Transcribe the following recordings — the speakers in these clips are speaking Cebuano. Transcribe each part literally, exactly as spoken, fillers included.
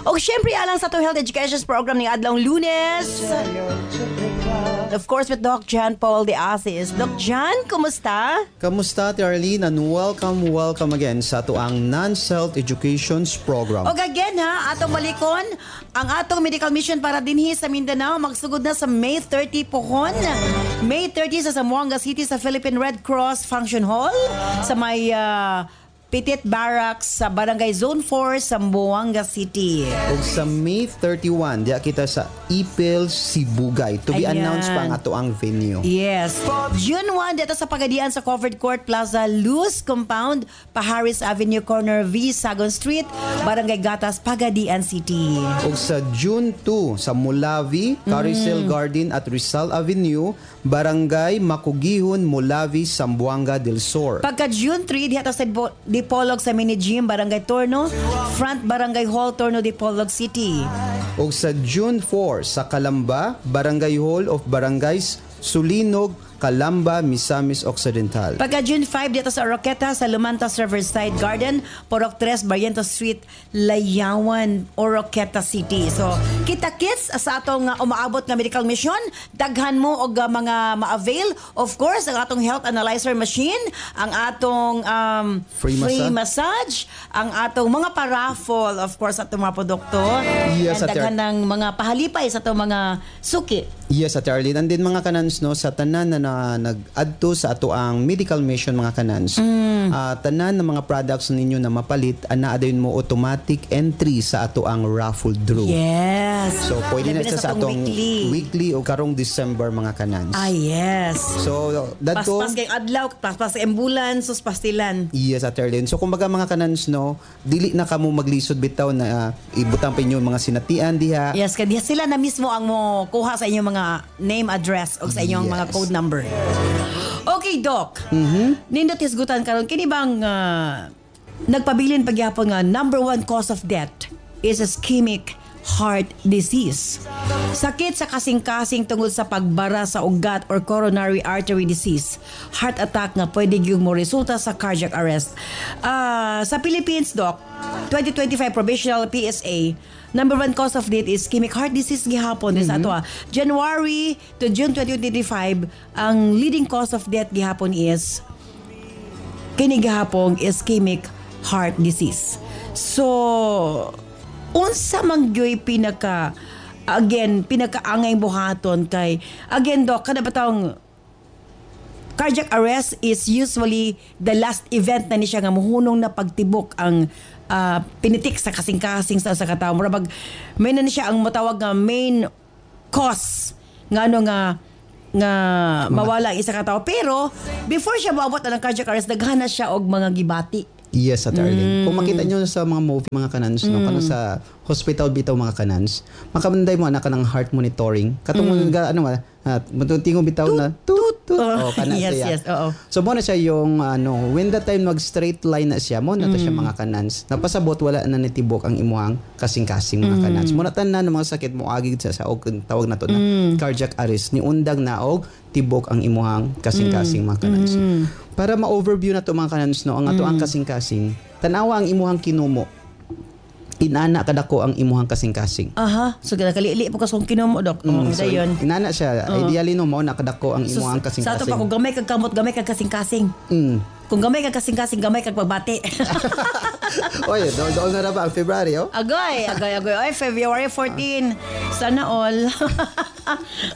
O syempre, alang sa atong Health Education Program ning adlawng Lunes. Of course, with Doc John Paul de Asis. Doc John, kumusta? Kamusta, Ate Arlene? And welcome, welcome again sa atoang Non-Health Educations Program. Og again ha, atong balikon, ang atong medical mission para dinhi sa Mindanao magsugod na sa May thirty pohon. May thirty sa Zamboanga City sa Philippine Red Cross Function Hall sa may ah, Petit Barracks sa Barangay Zone four, Zamboanga City. Ug sa May thirty-one, diya kita sa Ipil, Sibugay. To be Ayan. announced pa ang atoang venue. Yes. June one dito sa Pagadian sa Covered Court Plaza Luz Compound, Paharis Avenue Corner V Sagon Street, Barangay Gatas, Pagadian City. Ug sa June two sa Molavi, Carousel Mm. Garden at Rizal Avenue, Barangay Makugihon, Molavi, Zamboanga del Sur. Pagka June three, diha ta sa Dipo- Dipolog sa Mini Gym, Barangay Torno, Front Barangay Hall, Torno, Dipolog City. Ug sa June four sa Calamba, Barangay Hall of Barangays Sulinog, Calamba, Misamis Occidental. Pagka June five, dito sa Oroquieta, sa Lumantas Riverside Garden, Purok tres, Barrientos Street, Layawan, Oroquieta City. So, kita-kits sa atong uh, umaabot nga medical mission. Daghan mo og uh, mga ma-avail. Of course, ang atong health analyzer machine, ang atong um, Free free massage. massage, ang atong mga paraffle, of course, atong mga produkto. Yes, And Ate daghan ng mga pahalipay sa atong mga suki. Yes, Ate Arlene. And then mga kanans, no, sa tanan na, na nag-adto sa atoang medical mission, mga kanans, Mm. ah, tanan ng mga products ninyo na mapalit, ana dayon mo automatic entry sa atoang raffle draw. Yes. So pwede na Labi siya sa atong weekly. weekly o karong December, mga kanans. Ah, yes. So dadto Paspas kay adlaw, paspas kay ambulance, sus pastilan. Yes, Ate Arlene. So kumbaga, mga kanans, no, dili na kamo maglisod bitaw na ah, ibutang pa inyo mga sinatian diha. Yes, kay diha sila na mismo ang mo kuha sa inyong mga name, address o sa inyong mga Yes. code number. Okay, Doc. Mm-hmm. Nindot hisgutan karon kini bang ah, nagpabilin pagyapon nga number one cause of death is ischemic heart disease? Sakit sa kasing-kasing tungod sa pagbara sa ugat or coronary artery disease. Heart attack nga pwede gyud mo resulta sa cardiac arrest. Ah, sa Philippines, Doc, twenty twenty-five provisional P S A, number one cause of death is ischemic heart disease gihapon mm sa ato ah. January to June twenty twenty-five, ang leading cause of death gihapon is kini gihapong ischemic heart disease. So, unsa man gyoy pinaka again pinakaangay buhaton kay again, Doc, kada ba cardiac arrest is usually the last event na ni siya nga muhunong na pagtibok ang ah, pinitik sa kasing-kasing sa sa katawo? Mura bag may na ni siya ang matawag nga main cause nga ano nga nga mawala ang isa ka tawo, pero before siya maabot na ng cardiac arrest, daghan na siya og mga gibati. Yes, Ate Arlene. Kung makita Mm. nyo sa mga movie, mga kanans, no, kanang sa hospital bitaw, mga kanans, makabanday mo anak ng heart monitoring. Katong mm. ano ba, uh, tingo bitaw na tut tut. Oh, Oh, kana yes, siya. yes, oo. So mo na siya yung ano, when the time mag straight line na siya, mo na to siya Mm. mga kanans. Napasabot wala na nitibok ang imuhang kasing-kasing, mga Mm. kanans. Mo na tanan ng mga sakit mo agi sa sa og tawag na to na Mm. cardiac arrest ni undang na og tibok ang imuhang kasing-kasing, mga kanans. Mm. Para ma-overview na to, mga kanans, no, ang ato ang kasing-kasing, tanawa ang imuhang kinumo. Inana kadako ang imuhang kasing-kasing. Aha, so nakalili po ka sa kong kinumo, Dok. Mm, So, dayon. inana siya, ideally no mao na kadako ang So, imuhang sa ato kasing-kasing. pa, kung gamay kag kamot, gamay kag kasing-kasing. Mm. Kung gamay kag kasing-kasing, gamay kag pagbati. Oy, dool dool na ra ba ang February, oh? Agoy, agoy, agoy. Oy, February fourteen. Sana all.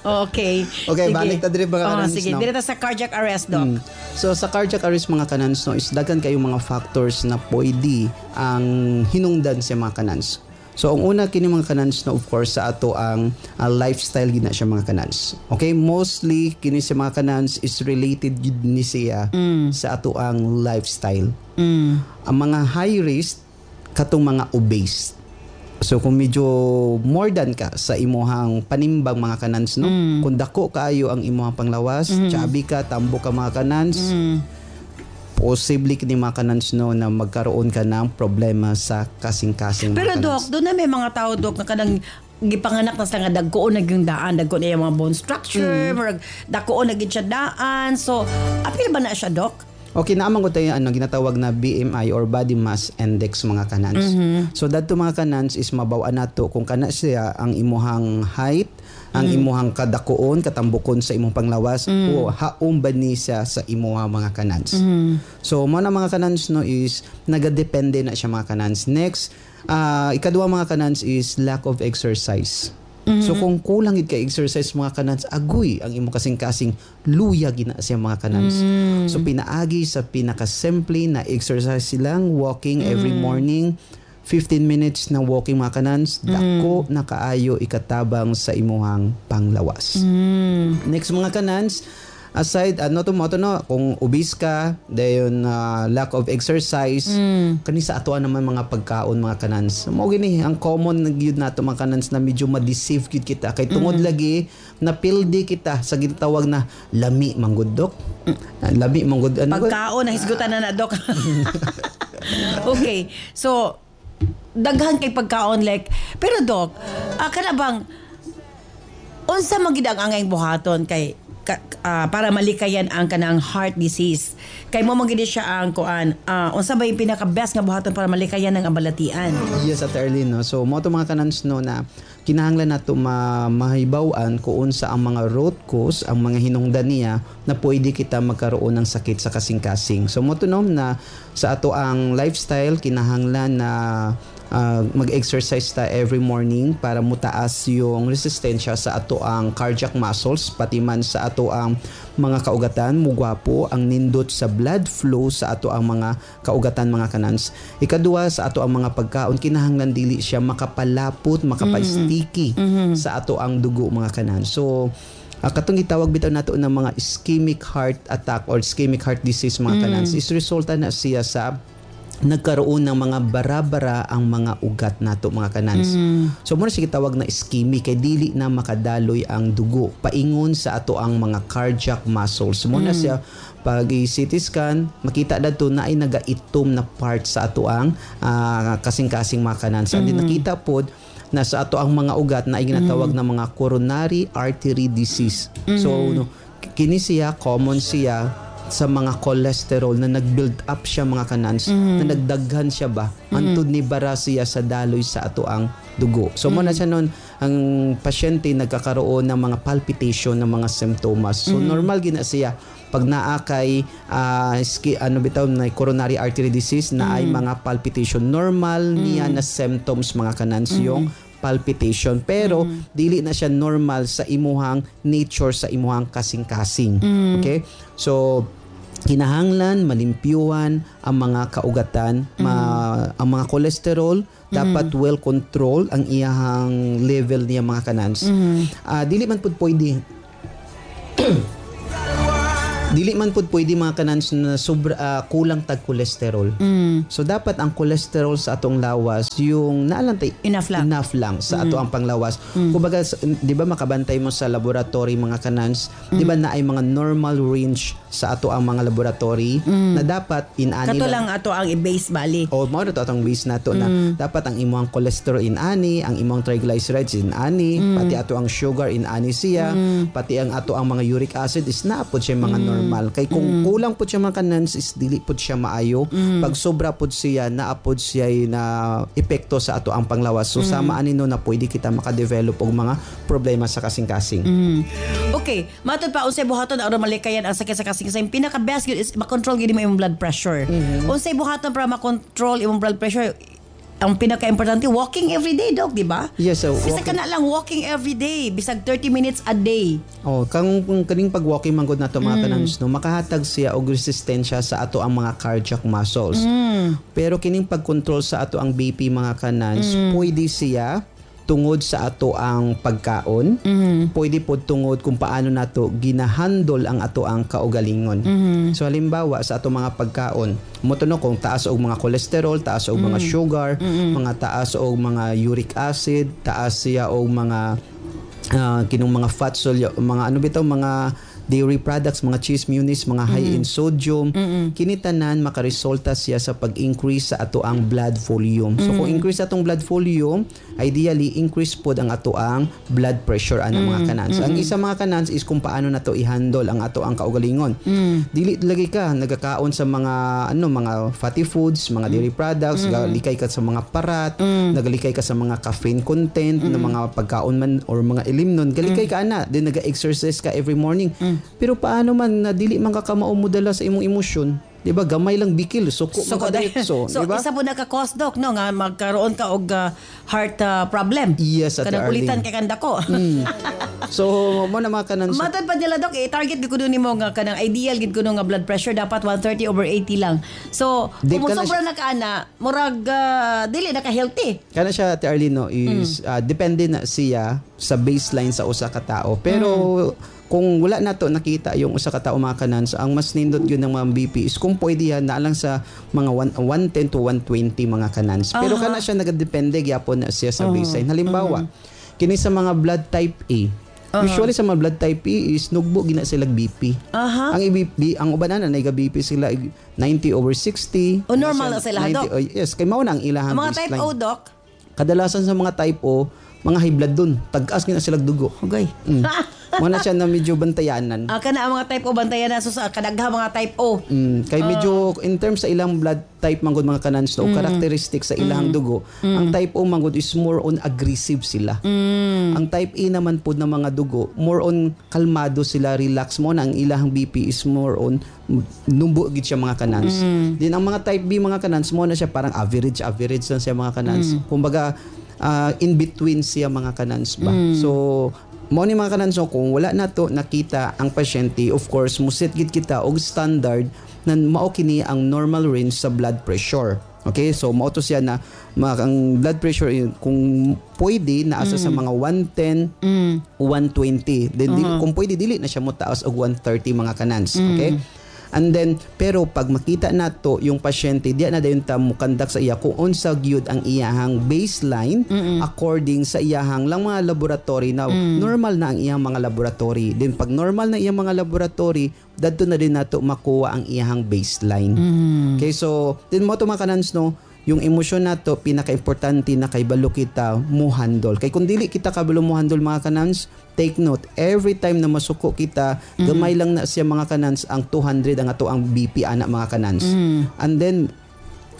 Okay. Okay, balik ta diri, mga Oh, kanans, sige, no? diri ta sa cardiac arrest, Doc. Mm. So sa cardiac arrest, mga kanans, no, is daghan kayong mga factors na pwede ang hinungdan sa mga kanans. So ang una kini, mga kanans, no, of course sa ato ang ang lifestyle gid na siya, mga kanans. Okay, mostly kini sa mga kanans is related gid ni siya sa ato ang lifestyle. Ang mga high risk katong mga obese. So kung medyo more than ka sa imuhang panimbang, mga kanans, no, kung dako kaayo ang imuhang panglawas, chubby ka, tambo ka, mga kanans, posible kini, mga kanans, no, na magkaroon ka ng problema sa kasing-kasing, mga Pero kanans. Doc, doon na may mga tao, Doc, na kanang gipanganak na sila nga dagkoon na yung daan, dagko na yung mga bone structure, Mm. murag dagkoon na gid siya daan. So, apil ba na siya, Doc? Okay, naa man gud tayo ano ginatawag na B M I or body mass index, mga kanans. So dadto, mga kanans, is mabaw-an nato kung kana siya ang imuhang height, ang imuhang kadakuon, katambukon sa imong panglawas o haom ba ni siya sa imuha, mga kanans. So mo na, mga kanans, no, is nagadepende na siya, mga kanans. Next, ah ikaduha, mga kanans, is lack of exercise. So kung kulang gid ka exercise, mga kanans, agoy ang imong kasing-kasing, luya gina siya, mga kanans. So pinaagi sa pinakasimple na exercise silang walking every morning, fifteen minutes na walking, mga kanans, dako na kaayo ikatabang sa imuhang panglawas. Next, mga kanans, aside ano to mo to no, kung obese ka, dayon uh, lack of exercise, kani sa atoa naman mga pagkaon, mga kanans. Mao gini ang common na gyud nato, mga kanans, na medyo ma-deceive gyud kita kay tungod lagi napildi kita sa gitawag na lami manggod, dok. Ah, lami manggod ano ba? Pagkaon, nahisgutan na na, Dok. Okay. So, daghan kay pagkaon like pero Dok, ah, kana bang unsa man gid ang angayng buhaton kay ka, ah, para malikayan ang kanang heart disease? Kay mo man gid siya ang kuan, ah, unsa ba yung pinaka best nga buhaton para malikayan ang balatian? Yes, Ate Arlene, no? So, mo to, mga kanans, no, na kinahanglan nato ma mahibaw-an kung unsa ang mga root cause, ang mga hinungdan niya na pwede kita magkaroon ng sakit sa kasing-kasing. So, mo to, no, na sa ato ang lifestyle, kinahanglan na uh, mag-exercise ta every morning para mutaas yung resistensya sa ato ang cardiac muscles, pati man sa ato ang mga kaugatan, mugwapo ang nindot sa blood flow sa ato ang mga kaugatan, mga kanans. Ikaduha, sa ato ang mga pagkaon, kinahanglan dili siya makapalapot, makapa-sticky sa ato ang dugo, mga kanans. So uh, katong gitawag bitaw nato ng mga ischemic heart attack or ischemic heart disease, mga kanans, is resulta na siya sa nagkaroon ng mga bara-bara ang mga ugat nato, mga kanans. So mo na siya gitawag na ischemic kay dili na makadaloy ang dugo paingon sa ato ang mga cardiac muscles. Mo na siya pag C T scan, makita dadto na ay nagaitom na part sa ato ang ah, kasing-kasing, mga kanans. And then nakita pod na sa ato ang mga ugat na ay ginatawag na mga coronary artery disease. So no, kini siya common siya sa mga cholesterol na nag-build up siya, mga kanans, na nagdaghan siya ba antud ni bara siya sa daloy sa ato ang dugo. So mo na siya nun ang pasyente nagkakaroon ng mga palpitation ng mga simptomas. So normal gina siya pag naa kay ah, ski, ano bitaw na coronary artery disease na ay mga palpitation, normal niya na symptoms, mga kanans, yung palpitation, pero dili na siya normal sa imuhang nature, sa imuhang kasing-kasing. Okay, so kinahanglan malimpyuhan ang mga kaugatan, ma, ang mga cholesterol dapat well control ang iyahang level niya, mga kanans. Ah, dili man pud pwede dili man pud pwede, mga kanans, na sobra ah, kulang tag cholesterol. So dapat ang cholesterol sa atong lawas yung naalang tay Enough lang. Enough lang sa ato ang panglawas. Kumbaga sa- 'di ba makabantay mo sa laboratory, mga kanans, 'di ba na ay mga normal range sa ato ang mga laboratory na dapat inani Kato lang ato ang i-base bali. O mao na to atong base nato na dapat ang imong cholesterol inani, ang imong triglycerides inani, pati ato ang sugar inani siya, pati ang ato ang mga uric acid is naa pod siya mga normal. Kay kung kulang pod siya, mga kanans, is dili pod siya maayo. Pag sobra pod siya, naa pod siya na epekto sa ato ang panglawas. So sama ani no na pwede kita makadevelop og mga problema sa kasing-kasing. Okay, matod pa, unsay buhaton aron malikayan ang sakit sa kasing-kasing? Pinaka best gyud is makontrol gyud mo imong blood pressure. Unsay buhaton para makontrol imong blood pressure? Ang pinaka-importante, walking every day, Dok, di ba? Yes, so Bisag walking- kana lang walking every day, bisag thirty minutes a day. Oh, kang kung kaning pag-walking man gud nato, mga kanans, no, makahatag siya og resistensya sa ato ang mga cardiac muscles. Pero kining pag-control sa ato ang B P, mga kanans, pwede siya tungod sa ato ang pagkaon, pwede pod tungod kung paano nato ginahandle ang ato ang kaugalingon. So halimbawa sa ato mga pagkaon, mo to no, kung taas og mga cholesterol, taas og mga sugar, mga taas og mga uric acid, taas siya og mga ah, kinong mga fat soluble, mga ano bitaw, mga dairy products, mga cheese, mayonnaise, mga high in sodium. Kini tanan makaresulta siya sa pag-increase sa ato ang blood volume. So kung increase atong blood volume, ideally increase pod ang ato ang blood pressure ana, mga kanans. Ang isa, mga kanans, is kung paano nato i-handle ang ato ang kaugalingon. Dili lagi ka nagakaon sa mga ano, mga fatty foods, mga dairy products, galikay ka sa mga parat, nagalikay ka sa mga caffeine content na mga pagkaon man or mga ilimnon, galikay ka ana, then naga-exercise ka every morning. Pero paano man na dili man ka kamao modala sa imong emosyon? 'Di ba? Gamay lang bikil, suko So, man ka diretso, so 'di ba? Isa po naka-cause, Doc, no, nga magkaroon ka og ah, heart ah, problem. Yes, Ate Kanang Arlene. ulitan kay kandako. So mo na, mga kanan, so, Matod pa nila, Doc, i-target gid kuno nimo nga kanang ideal gid kuno nga blood pressure dapat one thirty over eighty lang. So, Di kung ka na sobra na ka ana, murag ah, dili na ka healthy. Kana siya, Ate Arlene, no, is ah, depende na siya sa baseline sa usa ka tao. Pero kung wala na to nakita yung usa ka tao, mga kanans, ang mas nindot yun ng mga B P is kung pwede yan na lang sa mga one, one ten to one twenty, mga kanans. Pero kana siya nagadepende gyapon na siya sa baseline. Halimbawa, kini sa mga blood type A. Usually sa mga blood type A is nugbo gina sila B P. Aha. Ang I B P, ang uban na na B P sila ninety over sixty. O, normal na sila, ninety Doc? Oh, yes, kay mao na ang ilahang Ang mga type baseline. O, Doc. Kadalasan sa mga type O, mga high blood dun. Tag-as gina sila dugo. Okay. Mm. Mo na siya na medyo bantayanan. Ah, kana ang mga type O bantayan na, so sa kadagha mga type O. Mm, kay medyo in terms sa ilang blood type manggod, mga kanans, no, characteristic sa ilang dugo, ang type O manggod is more on aggressive sila. Ang type A naman pod na mga dugo, more on kalmado sila, relax mo na ang ilang B P is more on numbo gid siya, mga kanans. Din ang mga type B, mga kanans, mo na siya parang average average lang siya, mga kanans. Kumbaga ah, in between siya, mga kanans ba. So mo ni, mga kanans, so kung wala na to nakita ang pasyente, of course muset gid kita og standard na mao kini ang normal range sa blood pressure. Okay, so mao to siya na ma- ang blood pressure eh, kung pwede naasa sa mga one ten, one twenty. Then di, kung pwede dili na siya mo taas og one thirty, mga kanans. Okay? And then pero pag makita nato yung pasyente, diya na dayon ta mukandak sa iya kung unsa gyud ang iyahang baseline according sa iyahang lang mga laboratory na normal na ang iyang mga laboratory. Then pag normal na iyang mga laboratory, dadto na din nato makuha ang iyahang baseline. Okay, so then mo to, mga kanans, no, yung emosyon nato pinaka-importante na kaybalo kita mo handle. Kay kung dili kita kabalo mo handle, mga kanans, take note, every time na masuko kita, gamay lang na siya, mga kanans, ang two hundred ang ato ang B P ana, mga kanans. And then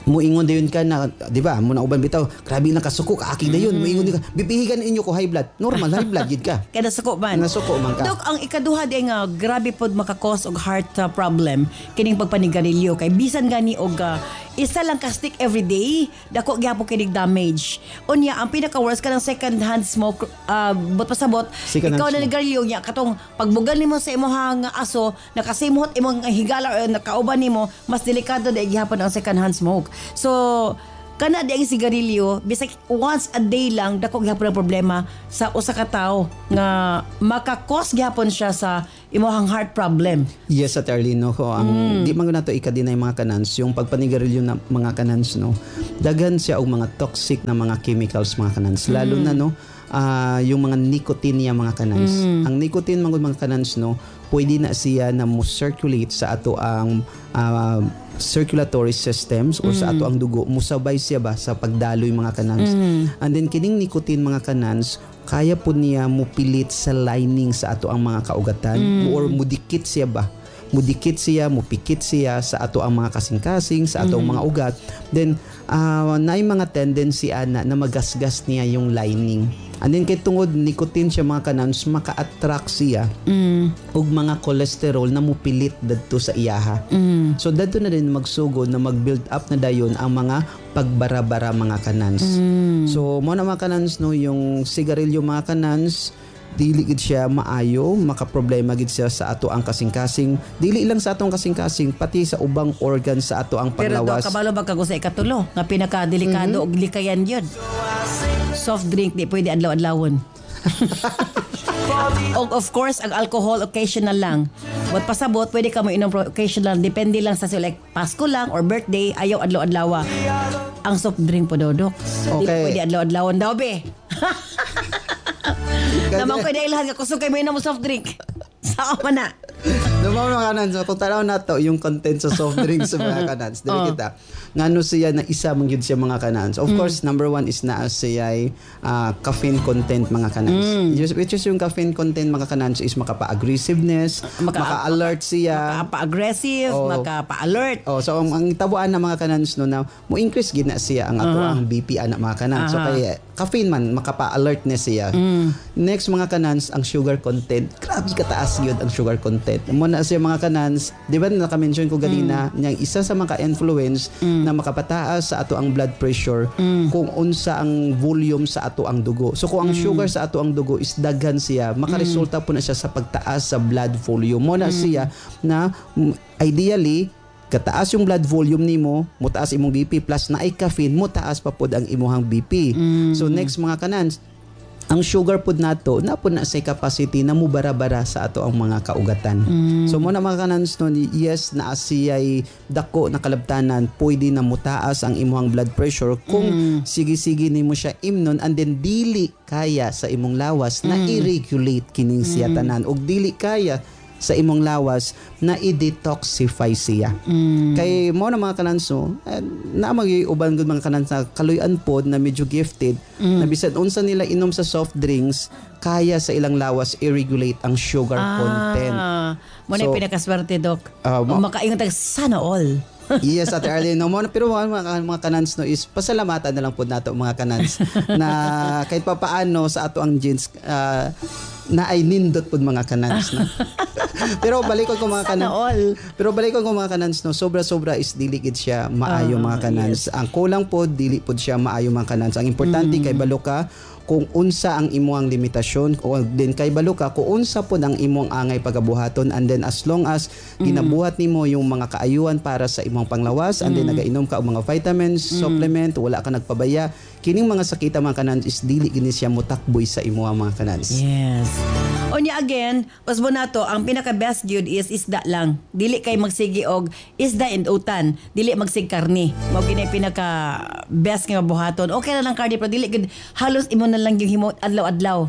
muingon dayon ka na, 'di ba? Mo na uban bitaw, grabe na kasuko kaaki dayon, muingon ka, bipihigan inyo ko high blood. Normal high blood gid ka. Kaya nasuko man. Nasuko man ka. Dok, ang ikaduha di nga grabe pod maka-cause og heart uh, problem kining pagpanigarilyo kay bisan gani og uh, isa lang ka stick every day, dako gyapon kinig damage. Unya ang pinaka worst kanang second hand smoke, uh, but pasabot Second hand ikaw na smoke. nigarilyo niya katong pagbugal nimo sa imong aso, nakasimhot imong higala or nakauban nimo, mas delikado na gihapon ang second hand smoke. So kana di ang sigarilyo, bisag once a day lang, dako gihapon ang problema sa usa ka tawo nga maka-cause gihapon siya sa imong heart problem. Yes, Ate Arlene, no, ko ang di man nato ika-deny, mga kanans, yung pagpanigarilyo na, mga kanans, no. Daghan siya og mga toxic na mga chemicals, mga kanans. Lalo na, no, ah, yung mga nicotine niya, mga kanans. Ang nicotine mga mga kanans, no, pwede na siya na mo circulate sa ato ang ah, circulatory systems or sa ato ang dugo, musabay siya ba sa pagdaloy, mga kanans. And then kining nicotine, mga kanans, kaya po niya mupilit sa lining sa ato ang mga kaugatan or mudikit siya ba, mudikit siya, mupikit siya sa ato ang mga kasing-kasing, sa ato ang mga ugat. Then uh, naay mga tendency ana na magasgas niya yung lining. And then kay tungod nicotine siya, mga kanans, maka-attract siya og mga cholesterol na mupilit dadto sa iyaha. So dadto na din magsugod na mag-build up na dayon ang mga pagbara-bara, mga kanans. So mo na, mga kanans, no, yung sigarilyo, mga kanans, dili gid siya maayo, makaproblema gid siya sa ato ang kasing-kasing, dili lang sa atong kasing-kasing, pati sa ubang organ sa ato ang Pero Dok, panglawas. kabalo ba kago sa ikatulo nga pinakadelikado og likayan yun? Soft drink, di pwede adlaw-adlawon. Og of course, ang alcohol, occasional lang. But pasabot, pwede ka mo inom pero occasional. Depende lang sa like Pasko lang or birthday, ayaw adlaw-adlawa. Ang soft drink po daw, Dok. Di Okay. pwede adlaw-adlawon daw, be. Naman ko ilhan ka kusog kay mo inom soft drink. Sao man na. No, mga kanans, kung tanaw nato yung content sa soft drinks sa mga kanans, dili Oh. kita. Ngano siya na isa man gyud siya, mga kanans? Of course, number one is naa siya ah, caffeine content, mga kanans. Yes, which is yung caffeine content, mga kanans, is makapa-aggressiveness, Maka- maka-alert siya. Makapa-aggressive, Oh. makapa-alert. Oh, so ang, ang tabuan na, mga kanans, no, na mo increase gid na siya ang ato ang B P ana, mga kanans. So Aha. kay caffeine man, makapa-alert na siya. Next, mga kanans, ang sugar content. Grabe kataas gyud ang sugar content. Mo na siya, mga kanans, di ba naka-mention ko ganina, niyang isa sa mga influence na makapataas sa ato ang blood pressure kung unsa ang volume sa ato ang dugo. So kung ang sugar sa ato ang dugo is daghan siya, makaresulta po na siya sa pagtaas sa blood volume. Mo na siya na mm, ideally kataas yung blood volume nimo, mutaas imong B P, plus naay caffeine, mutaas pa pod ang imuhang B P. So next, mga kanans, ang sugar pod nato na pod na sa capacity na mubara-bara sa ato ang mga kaugatan. So mo na, mga kanans, no, yes, naa siya'y dako na kalabtanan, pwede na mutaas ang imuhang blood pressure kung sige-sige nimo siya imnon and then dili kaya sa imong lawas na i-regulate kining siya tanan ug dili kaya sa imong lawas na i-detoxify siya. Kay mo na, mga kananso, eh, na mag uban gud, mga kanans, na kaluyan pod na medyo gifted na bisan unsa nila inom sa soft drinks, kaya sa ilang lawas i-regulate ang sugar content. Ah, mo na So, yung pinakaswerte, Doc. Ah, ma- Makaingon tag sana all. Yes, Ate Arlene. No, mo, pero mga, mga, mga kanans, no, is pasalamatan na lang po nato, mga kanans, na kahit pa paano sa ato ang genes ah, na ay nindot po, mga kanans. No? Pero balikon ko, mga Sana kanans. all. Pero balikon ko, mga kanans, no, sobra-sobra is dili gid siya maayo, Ah, mga kanans. Ang kulang po, dili po siya maayo, mga kanans. Ang importante, kay balo ka kung unsa ang imuang limitasyon o then kay balo ka kung unsa pod ang imong angay pagabuhaton, and then as long as ginabuhat nimo yung mga kaayuhan para sa imong panglawas and then nagainom ka og mga vitamins, supplement, wala ka nagpabaya, kining mga sakita, mga kanans, is dili gini siya motakboy sa imuang, mga kanans. Yes. Unya again, usbo nato ang pinaka best gyud is isda lang. Dili kay magsigi og isda and utan, dili magsig karni. Mao gini pinaka best nga buhaton. Okay ra lang karni pero dili gyud halos imo na lang yung himo adlaw-adlaw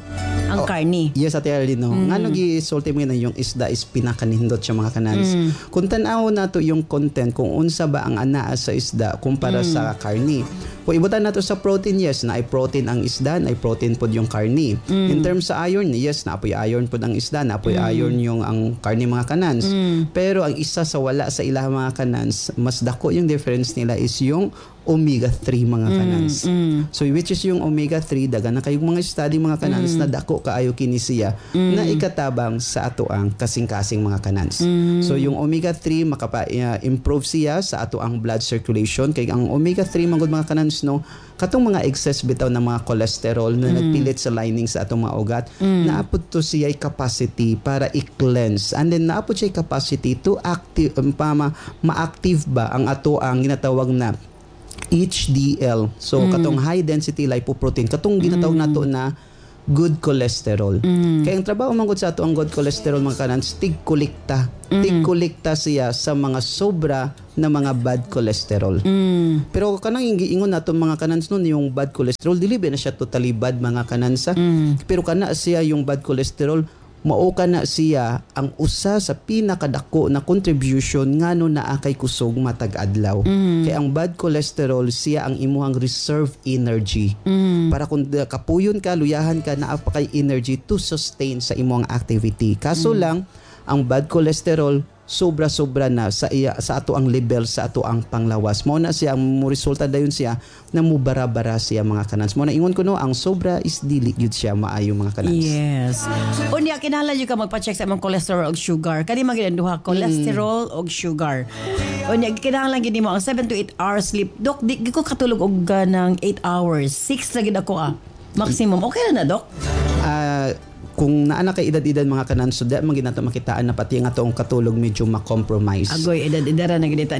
ang Oh, karni. Yes, Ate Arlene, no. Mm. Ngano gisulti mo na yung isda is pinakanindot siya, mga kanans? Kung tan-aw nato yung content kung unsa ba ang anaa sa isda kumpara sa karni. Kung ibutan nato sa protein, yes, na ay protein ang isda, na ay protein pod yung karni. In terms sa iron, yes, na apoy iron pod ang isda, na apoy iron yung ang karni, mga kanans. Pero ang isa sa wala sa ilaha, mga kanans, mas dako yung difference nila is yung omega three, mga kanans. So which is yung omega three, dagan na kayong mga study, mga kanans, na dako kaayo kini siya na ikatabang sa ato ang kasing-kasing, mga kanans. So yung omega three makapa-improve siya sa ato ang blood circulation kay ang omega three man gud, mga kanans, no, katong mga excess bitaw ng mga cholesterol na nagpilit sa lining sa atong mga ugat, naapod to siya capacity para i-cleanse and then naapod siya capacity to active um, pa, ma- ma-active ba ang ato ang ginatawag na H D L. So katong high density lipoprotein, katong ginatawag nato na good cholesterol. Kaya ang trabaho man gud sa ato ang good cholesterol, mga kanans, tig-kolekta. Tig-kolekta siya sa mga sobra na mga bad cholesterol. Pero kanang giingon nato, mga kanans, nun yung bad cholesterol, dili ba na siya totally bad, mga kanans, ha? Pero kana siya yung bad cholesterol, mao kana siya ang usa sa pinakadako na contribution ngano naa kay kusog matag adlaw. Kay ang bad cholesterol, siya ang imuhang reserve energy. Para kung da- kapuyon ka, luyahan ka, naa pa kay energy to sustain sa imong activity. Kaso lang ang bad cholesterol sobra-sobra na sa iya, sa ato ang level sa ato ang panglawas. Mo na siya ang mo resulta dayon siya na mubara-bara siya, mga kanans. Mo na ingon ko, no, ang sobra is dili gyud siya maayo, mga kanans. Yes. Unya kinahanglan jud ka magpa-check sa imong cholesterol ug sugar. Kani man gid ang duha, cholesterol ug sugar. Unya kinahanglan gid nimo ang seven to eight hours sleep. Dok, di, di ko katulog og ganang eight hours. six ra gid ako ah. Maximum. Okay ra na, Dok? Ah, kung naa na kay edad-edad, mga kanans, so di man gid nato makitaan na pati ang atong katulog medyo ma-compromise. Agoy, edad-edara na gid ta.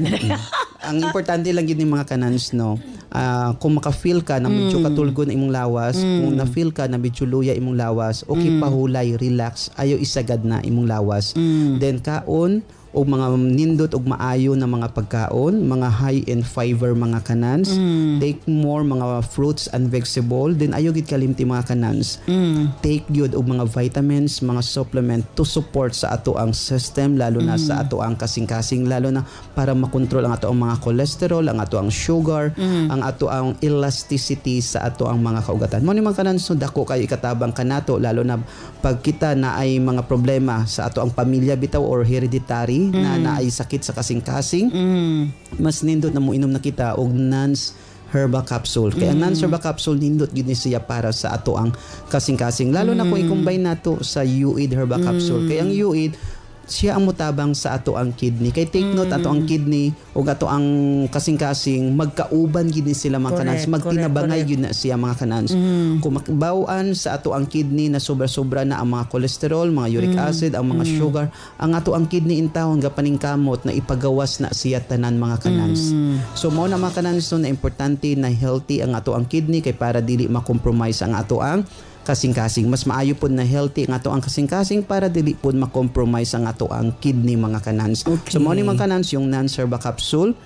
Ang importante lang yun yung mga kanans, no, ah, kung maka-feel ka na medyo katulgon imong lawas, kung na-feel ka na medyo luya imong lawas, okay, pahulay, relax, ayo isagad na imong lawas. Then kaon, Og mga nindot og maayo na mga pagkaon, mga high in fiber, mga kanans. Take more mga fruits and vegetable. Then ayo gid kalimti, mga kanans. Take gyud og mga vitamins, mga supplement to support sa ato ang system, lalo na sa ato ang kasing-kasing, lalo na para makontrol ang ato ang mga cholesterol, ang ato ang sugar, ang ato ang elasticity sa ato ang mga kaugatan. Mao ni, mga kanans, no, dako kayo ikatabang kanato, lalo na pag kita na ay mga problema sa ato ang pamilya bitaw or hereditary na naay sakit sa kasing-kasing, mas nindot na mo inom na kita og Nance Herbal Capsule. Kaya ang Nance Herbal Capsule, nindot gyud ni siya para sa ato ang kasing-kasing. Lalo na kung i-combine nato sa U I D Herbal Capsule. Kaya ang U I D, siya ang mutabang sa ato ang kidney. Kay take note, ato ang kidney ug ato ang kasing-kasing, magkauban gid ni sila, mga kanans, Correct, magtinabangay correct, gyud na siya, mga kanans. Kung makbawaan sa ato ang kidney na sobra-sobra na ang mga cholesterol, mga uric acid, ang mga sugar, ang ato ang kidney intawon gapaningkamot na ipagawas na siya tanan, mga kanans. So mao na, mga kanans, no, na importante na healthy ang ato ang kidney kay para dili ma-compromise ang ato ang kasing-kasing. Mas maayo pod na healthy ang ato ang kasing-kasing para dili pod ma-compromise ang ato ang kidney, mga kanans. Okay. So mao ni, mga kanans, yung Nance Herbal Capsule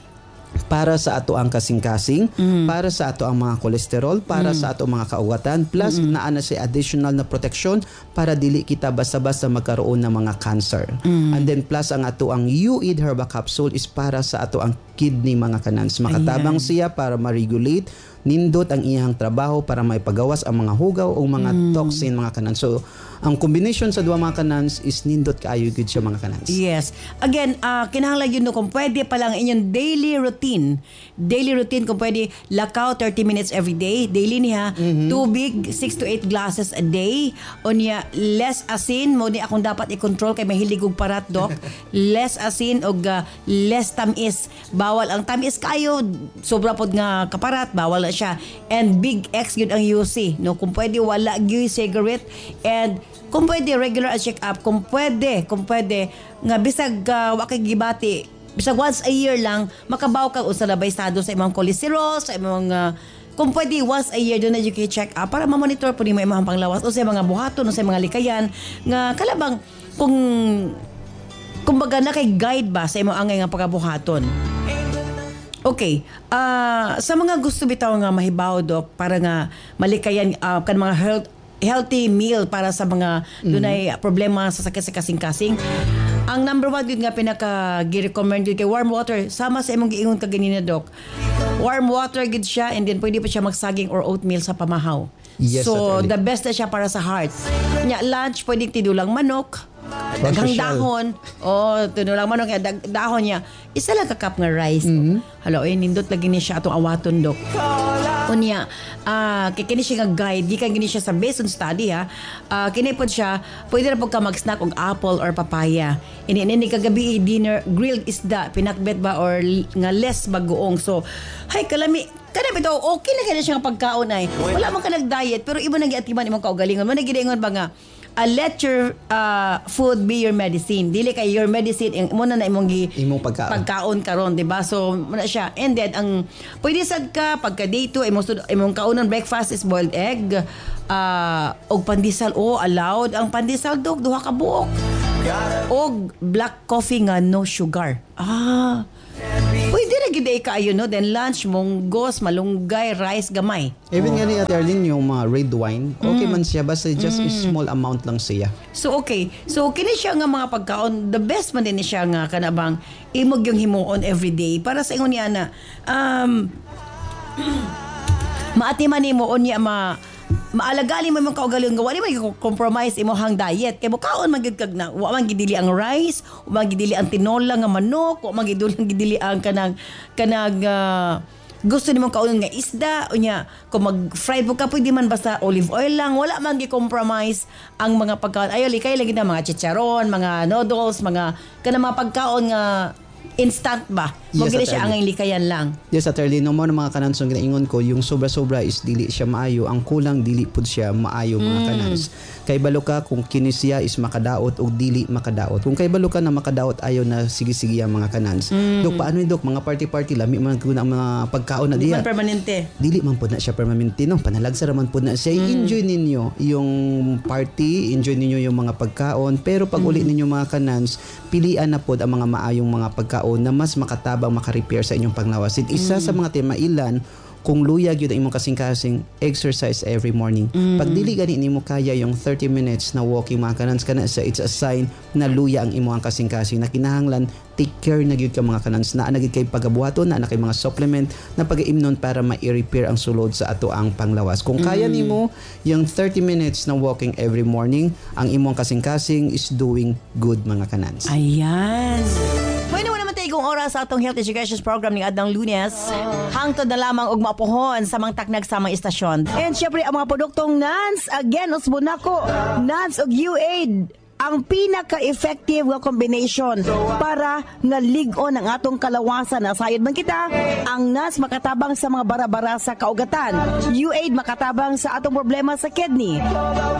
para sa ato ang kasing-kasing, para sa ato ang mga kolesterol, para sa ato mga kaugatan, plus naa na siya additional na protection para dili kita basta-basta magkaroon ng mga cancer. And then plus ang ato ang U I D Herbal Capsule is para sa ato ang kidney, mga kanans. Makatabang siya para ma-regulate nindot ang iyang trabaho para maipagawas ang mga hugaw o mga toxin, mga kanans. So ang combination sa duha, mga kanans, is nindot kaayo gyud siya, mga kanans. Yes. Again, uh, kinahanglan yun, no, kung pwede pa lang inyong daily routine. Daily routine, kung pwede, lakaw thirty minutes every day. Daily niya. Tubig, six to eight glasses a day. O niya, less asin. Mao ni akong dapat i-control kay mahilig og parat, Dok. Less asin og uh, less tamis. Bawal ang tamis kayo. Sobra pod nga kaparat, bawal na siya. And big X yun ang U C. No, kung pwede, wala gyud cigarette. And kung pwede, regular ang check-up. Kung pwede, kung pwede, nga bisag uh, wa kay gibati, bisag once a year lang, makabaw ka usa labay estado sa imong cholesterol, sa imong uh, kung pwede once a year doon na you can check up para ma-monitor po nimo imong panglawas o sa mga buhaton o sa mga likayan nga kalabang kung kumbaga na kay guide ba sa imong angay nga pagabuhaton. Okay. Ah, sa mga gusto bitaw nga mahibaw, Dok, para nga malikayan ah, kan mga health healthy meal para sa mga dunay problema sa sakit sa kasing-kasing. Ang number one yun nga pinaka gi-recommend yun kay warm water. Sama sa imong giingon kaganina, Dok. Warm water gid siya and then pwede pa siya magsaging or oatmeal sa pamahaw. Yes, So Attorney. The best na siya para sa heart. Nya lunch, pwedeng tinulang manok. Daghang Social. dahon. Oh, tinulang manok nga dag- dahon niya. Isa lang ka cup nga rice. Mm-hmm. Hala, oy, nindot lagi ni siya atong awaton, Dok. Unya, ah kay kini siya nga guide, gikan gini siya sa based on study ha. Ah, kini pod siya, pwede ra pod ka mag-snack og apple or papaya. Ini ini kagabi dinner, grilled isda, pinakbet ba or l- nga less bagoong. So, hay kalami kana bitaw, okay na kaya siya nga pagkaon ay. Wala man ka nag-diet pero iba nang giatiman imong kaugalingon. Man giingon ba nga uh, let your uh, food be your medicine. Dili kay your medicine imo na na imong gi Imong pagkaon. Pagkaon karon, di ba? So muna siya. And then ang pwede sad ka pagka day two, imong sud- imong kaunon breakfast is boiled egg uh, og pandesal. Oh, allowed ang pandesal, Dok, duha ka buok. Og black coffee nga no sugar. Ah. Pwede ra gid ay kaayo, no. Then lunch, munggos, malunggay, rice gamay. Even nga ni Ate Arlene, yung mga red wine, okay man siya, basta just a small amount lang siya. So okay. So kini siya nga mga pagkaon, the best man din ni siya nga kanabang imog yung himuon every day para sa ingon niya na um maatiman nimo unya ma maalagali mo imong kaugalingon nga wala man compromise imong diet kay mukaon man gyud kag na wa man gidili ang rice, wa man gidili ang tinola nga manok, wa man gid gidili ang kanang kanang ah, gusto nimo kaunon nga isda. Unya kung mag-fried mo ka, pwede man basta olive oil lang, wala man gi-compromise ang mga pagkaon. Ayo likay lagi na mga chicharon, mga noodles, mga kanang mga pagkaon nga Instant ba? Mo Yes, gini Ate siya Arlene. ang likayan lang. Yes, Ate Arlene, no mo ng mga kanans ang ginaingon ko, yung sobra-sobra is dili siya maayo, ang kulang dili pud siya maayo, mga Mm. kanans. Kay balo ka kung kini siya is makadaot o dili makadaot. Kung kay balo ka na makadaot, ayaw na sige-sige ang mga kanans. Mm. Dok, paano yun, Dok? Mga party-party, lami man ko na ang mga pagkaon na Di diya. man permanente. Dili man pud na siya permanente, no? Panalagsa raman pud na siya. Enjoy ninyo yung party, enjoy ninyo yung mga pagkaon, pero pag uli ninyo, mga kanans, pilian na pod ang mga maayong mga pagkaon na mas makatabang, maka-repair sa inyong panglawas. At isa sa mga timailan, kung luyag yun ang imong kasing-kasing, exercise every morning. Pag dili gani nimo kaya yung thirty minutes na walking, mga kanans, kana sa it's a sign na luya ang imong kasing-kasing na kinahanglan take care na gyud ka, mga kanans, naa na gyud kay pagabuhaton, naa na kay mga supplement na pagaimnon para ma-repair ang sulod sa ato ang panglawas. Kung kaya nimo yung thirty minutes na walking every morning, ang imong kasing-kasing is doing good, mga kanans. Ayan. Bueno, naman tayo kung oras sa atong health education program ning adlawng Lunes. Hangtod na lamang og mapuhon sa mga taknag sa mga istasyon. And syempre, ang mga produktong Nance, again, usbo nako, Nance og U-Aid ang pinaka-effective nga combination para nga lig-on ang atong kalawasan. Nasayod man kita, ang N A S makatabang sa mga bara-bara sa kaugatan. U-Aid makatabang sa atong problema sa kidney.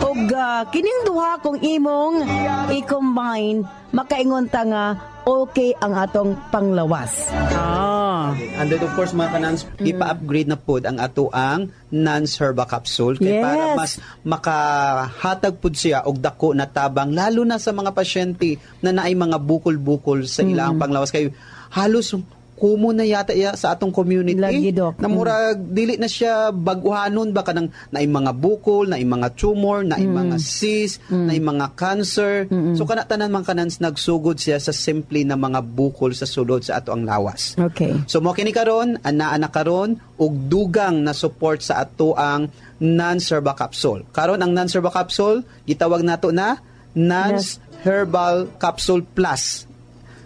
Ug uh, kining duha kung imong i-combine, makaingon ta nga okay ang atong panglawas. Ah. And then of course, mga kanans, ipa-upgrade na pod ang ato ang Nance Herba Capsule kay Yes. para mas makahatag pod siya og dako na tabang, lalo na sa mga pasyente na naay mga bukol-bukol sa ilang panglawas, kay halos common na yata iya sa atong community. Lagi, Dok. Na murag dili na siya baguhanon ba, kanang naay mga bukol, naay mga tumor, naay mga cyst, naay mga cancer. So kana tanan, mga kanans, nagsugod siya sa simple na mga bukol sa sulod sa ato ang lawas. Okay. So mo kini karon, anaa na karon og dugang na support sa ato ang Nance Herba Capsule. Karon ang Nance Herba Capsule gitawag nato na Nance Herbal Capsule Plus.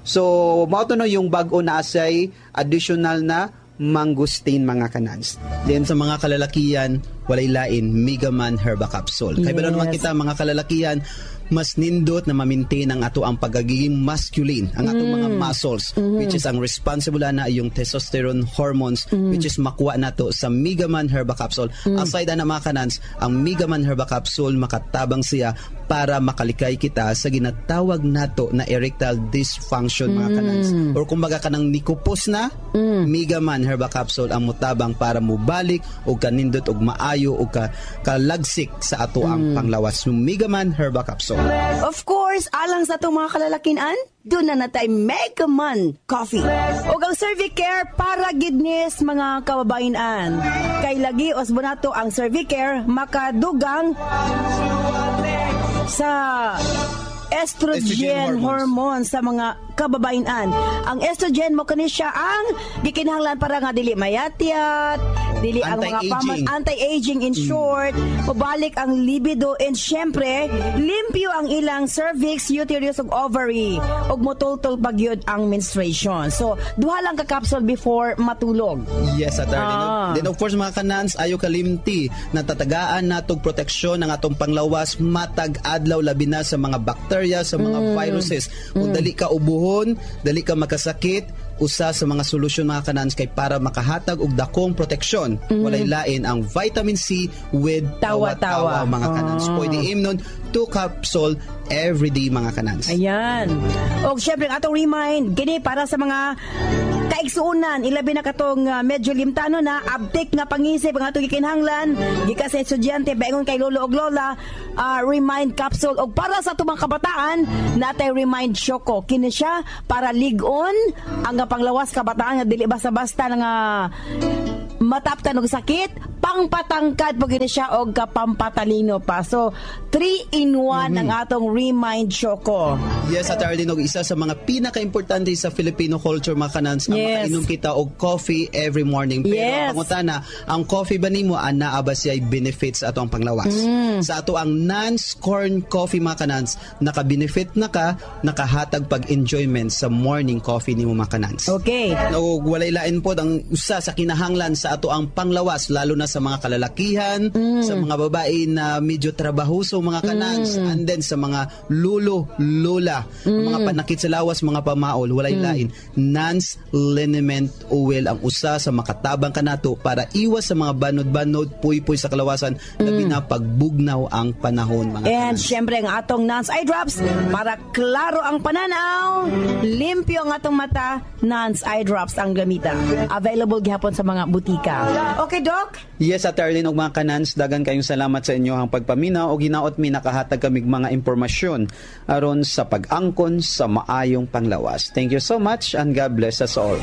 So mao to no yung bag-o na asay additional na mangosteen, mga kanans. Then sa mga kalalakian, walay lain, Megaman Herba Capsule. Kay balo naman Yes. kita, mga kalalakian, mas nindot na ma-maintain ang ato ang pagiging masculine, ang atong mga muscles, which is ang responsible na yung testosterone hormones, which is makuha nato sa Megaman Herba Capsule. Aside ana, mga kanans, ang Megaman Herba Capsule makatabang siya para makalikay kita sa ginatawag nato na erectile dysfunction, mga kanans. Or kumbaga kanang nikupos na, Megaman Herba Capsule ang mutabang para mubalik og kanindot og maayo og ka, kalagsik sa ato ang panglawas. Yung Megaman Herba Capsule. Of course, alang sa atong mga kalalakian, doon na natay Megaman Coffee. O ang Cervicare para gidnis mga kababayan. Kay lagi usbo nato ang Cervicare makadugang sa estrogen, Estrogen hormones. hormones sa mga kababayan. Ang estrogen mo kani siya ang gikinahanglan para nga dili mayatyat, dili ang mga Anti-aging. paman, anti-aging in short, mabalik ang libido and syempre, limpyo ang ilang cervix, uterus ug ovary ug motultol pag yun ang menstruation. So, duha lang ka capsule before matulog. Yes, Attorney. Ah. Then of course, mga kanans, ayo kalimti natatagaan natog proteksyon ang atong panglawas matag adlaw, labi na sa mga bacteria, sa mga Mm. viruses. Kung dali ka ubuhon, dali ka makasakit, usa sa mga solusyon, mga kanans, kay para makahatag og dakong proteksyon, walay lain ang vitamin C with Mm. Tawa-tawa. tawa-tawa, mga kanans. Ah. Pwede imnon two capsule every day, mga kanans. Ayan. O syempre, ang atong remind, gini para sa mga kaigsuunan, ilabi na katong uh, medyo limtano na, abtik nga pangisip ang atong gikinahanglan, gikan sa estudyante, baingon kay lolo og lola, ah, remind capsule. Og para sa atong mga kabataan, natay remind choco. Kini siya para lig-on ang panglawas kabataan nga dili basta-basta nga mataptan og sakit, pangpatangkad po gini siya og kapampatalino pa. So, three in one ang atong Remind Choco. Yes, Ate Arlene, og isa sa mga pinaka-importante sa Filipino culture, mga kanans, ang Yes. makainom kita og coffee every morning. Pero Yes. ang pangutana, ang coffee ba nimo anaa ba siya benefits sa ato ang panglawas? Mm. Sa ato ang Nance Corn Coffee, mga kanans, naka-benefit na ka, nakahatag pag-enjoyment sa morning coffee nimo, mga kanans. Okay. O walay lain po ang usa sa kinahanglan sa ato ang panglawas, lalo na sa sa mga kalalakihan, sa mga babae na medyo trabahoso mga kanans, and then sa mga lulo, lola, mga panakit sa lawas, mga pamaol, walay lain. Nance Liniment Oil ang usa sa makatabang kanato para iwas sa mga banod-banod, puy-puy sa kalawasan, labi na pagbugnaw ang panahon mga And kanans. syempre ang atong Nance Eye Drops para klaro ang pananaw, limpyo ang atong mata, Nance Eye Drops ang gamita. Available gihapon sa mga butika. Okay, Doc? Yes, Ate Arlene ug mga kanans, dagan kayong salamat sa inyo ang pagpaminaw og hinaot mi nakahatag kamig mga impormasyon aron sa pag-angkon sa maayong panglawas. Thank you so much and God bless us all.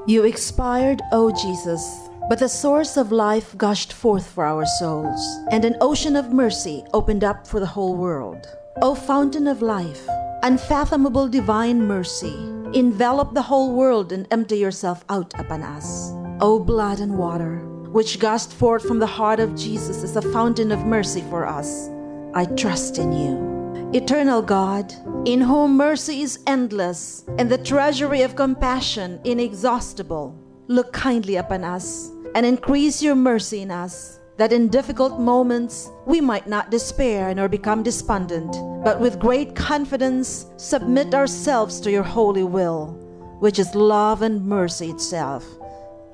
You expired, O Jesus, but the source of life gushed forth for our souls, and an ocean of mercy opened up for the whole world. O fountain of life, unfathomable divine mercy, envelop the whole world and empty yourself out upon us. O blood and water, which gushed forth from the heart of Jesus as a fountain of mercy for us, I trust in you. Eternal God, in whom mercy is endless and the treasury of compassion inexhaustible, look kindly upon us and increase your mercy in us, that in difficult moments we might not despair nor become despondent, but with great confidence submit ourselves to your holy will, which is love and mercy itself.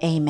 Amen.